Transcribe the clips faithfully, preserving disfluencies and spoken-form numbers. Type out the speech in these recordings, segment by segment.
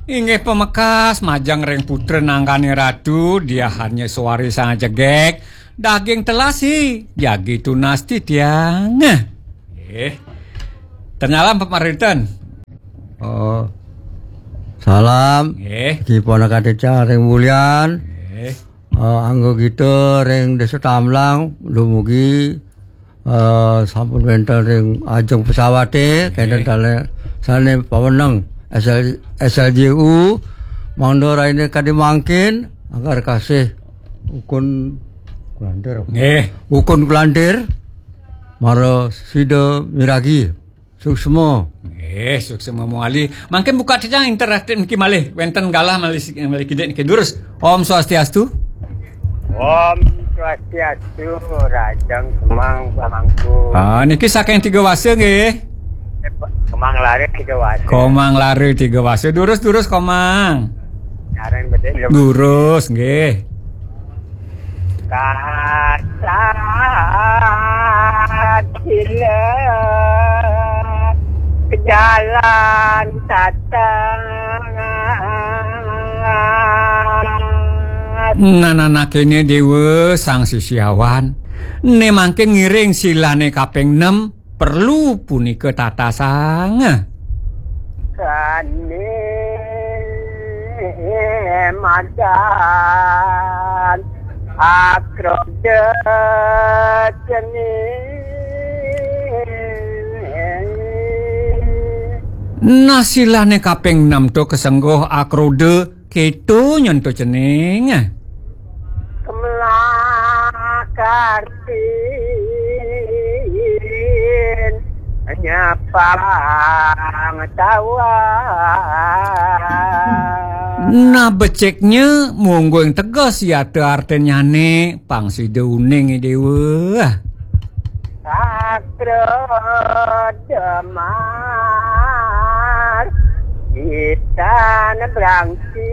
Inggih pamekas, majeng ring putra nanggané ratu, diahanya suari sang jegég, daging telasi, jagi tunas titiang. Eh, tenyalam pamarinten. Oh, salam. Nggih. Ki ponakan titiang ring Mulyan. Nggih. Eh, anggegita ring Desa Tamlang, dumugi, eh, sampun wénten ring ajeng pesawaté, nggih, kénten taler sané paweneng S L, S L J U, mangda rahiné kadi mangkin, angkar kasih Ukun Kulantir. Nggih. Ukun Kulantir, mara sida miragi. Suksma. Nggih, suksma mawali. Mangkin buka titiang interaktif niki malih. Wénten galah malih, malih kidik niki. Durus. Om Swastiastu. Om Swastiastu, Rajang Kemang Pamangku. Ah, niki saking Tiga Wasa nggih. Kemang Lare Tiga Wasa. Komang Lare Tiga Wasa. Durus, durus, Komang. Nyaran bedik. Durus nggih. Kasat sila kejalan tatang. Nah, nah, nah, kéné Déwa Sang Sisiawan. Né mangkin ngiring silané kaping enem, perlu punika tatasang. Kane madan akroda cening. Nah, silané kaping enem to kasengguh akroda, kéto nyen to cening. Kemelah kartin nyapang tawang. Nah, beciknya mungguing teges yata artinnyané, pang sida uning, Déwa. Sakra Damar Itan Brangti.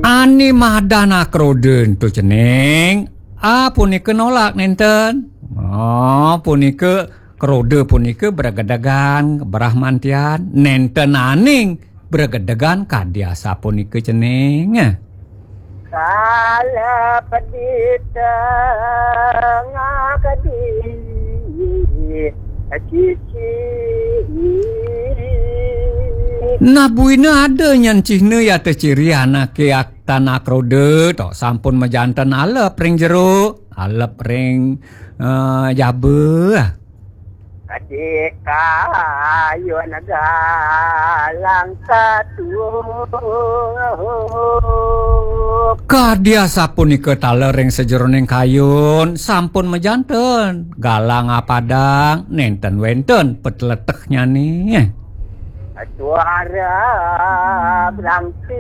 Ané madan akroda ento cening, ah, punika nolak nénten. Oh, punika kroda punika bregedegan brahmantian, nénten aning bregedegan kadi asapunika cening. Kala pedita ngakadi cici. Nah, buina ada nyen cihna yata ciri anaké ak-, tan akroda, to sampun majanten alep ring jero, alep ring, eh, jaba. Kadika ayun galang katuh. Kadi asapunika taler ring sajeroning kayun, sampun majanten galang apadang, nénten wénten petletehnyané. Suara berangti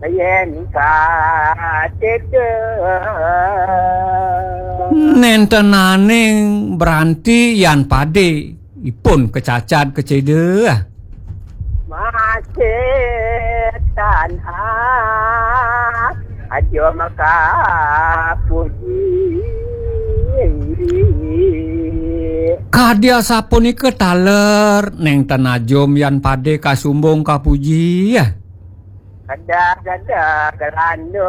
yen katedeng. Nénten aning branti yan padé, ipun kacacad kacéda. Masih tanah aja makapuji. Kadi asapunika taler, nénten ajum yan padé kasumbung kapuji. Kedah-kedah gelanduh,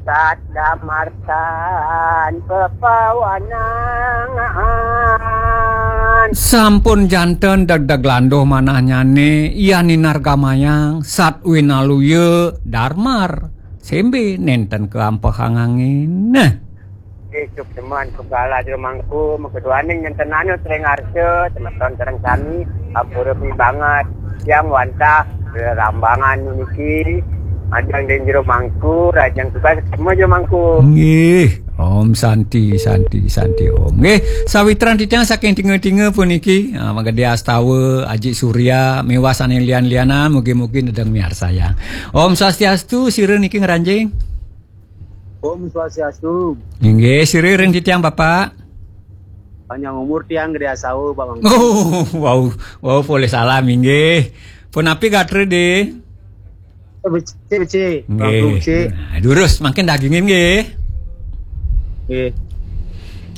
sat damartan pepawanan. Sampun janten degdeg landuh manahnyané, yan ninargamayang, sat winaluya, darmar, sémbé nénten kaampehang angin. Nah. Ih, suksma, suksma jero mangku, makeduaning nyentenana tering arsa, semeton sareng sami, ampura pibanget, yang wantah, rambangan niki, majeng ring jero mangku, rahajeng tugas, suksma jero mangku. Nggih, Om Santi, Santi, Santi Om. Nggih, sawitran titiang saking Tinga-Tinga puniki, ah, Magede Astawa, Aji Surya, miwah sané lian-lianan, mugi-mugi nedeng miarsayang. Om Swastiastu, sira niki ngranjing. Om Swastiastu. Inggih, sira ring titiang, Bapak. Panjang umur tiang Gede Asawa, Bang. Oh, wow, wow, polih salam, inggih. Punapi gatra, Dé? Becik, becik. Bang, nggih. Becik. Nah, durus, mangkin dagingin, nggih. Nggih.